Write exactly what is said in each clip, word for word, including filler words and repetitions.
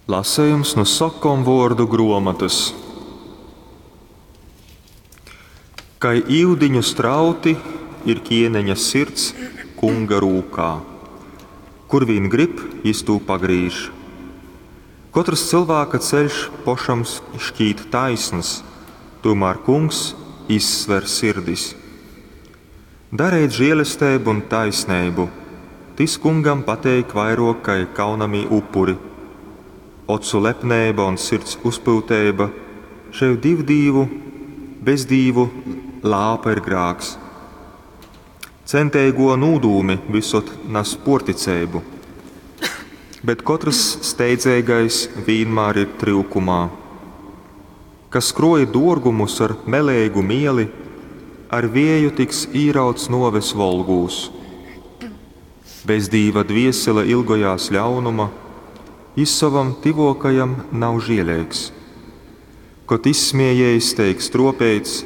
Lasejums nu sokomvuordu gruomotys. Kai iudiņu strauti ir kieneņa sirds kunga rūkā. Kur vīn gryb, jis tū pagrīž. Kotrys cylvāka ceļš pošam šķīt taisns, tūmār Kungs izsver sirdis. Dareit žielesteibu un taisneibu, tys Kungam pateik vairuok kai kaunamī upuri. Ocu lepneiba un sirds uzpyuteiba, šei divdīvu, bezdīvu lāpa ir grāks. Centeiguo nūdūmi vysod nas puorticeibu, bet kotrys steidzeigais vīnmār ir tryukumā. Kas kruoj duorgumus ar meleigu mieli, ar vieju tiks īrauts nuoves volgūs. Bezdīva dviesele ilgojās ļaunuma, jis sovam tyvuokajam nav žieleigs. Kod izsmiejiejs teik struopeits,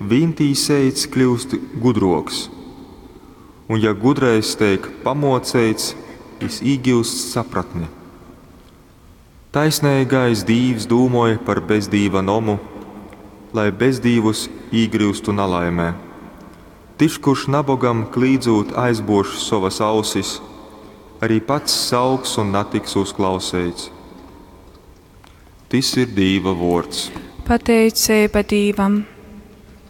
vīntīseits kļyust gudruoks. Un ja gudrais teik pamuoceits, jis īgiust sapratni. Taisneigais Dīvs dūmoj par bezdīva nomu, lai bezdīvus īgryustu nalaimē. Tys, kurš nabogam klīdzūt aizbuož sovys ausis, arī pats sauks un natiks uzklauseits. Tys ir Dīva vuords. Pateiceiba Dīvam.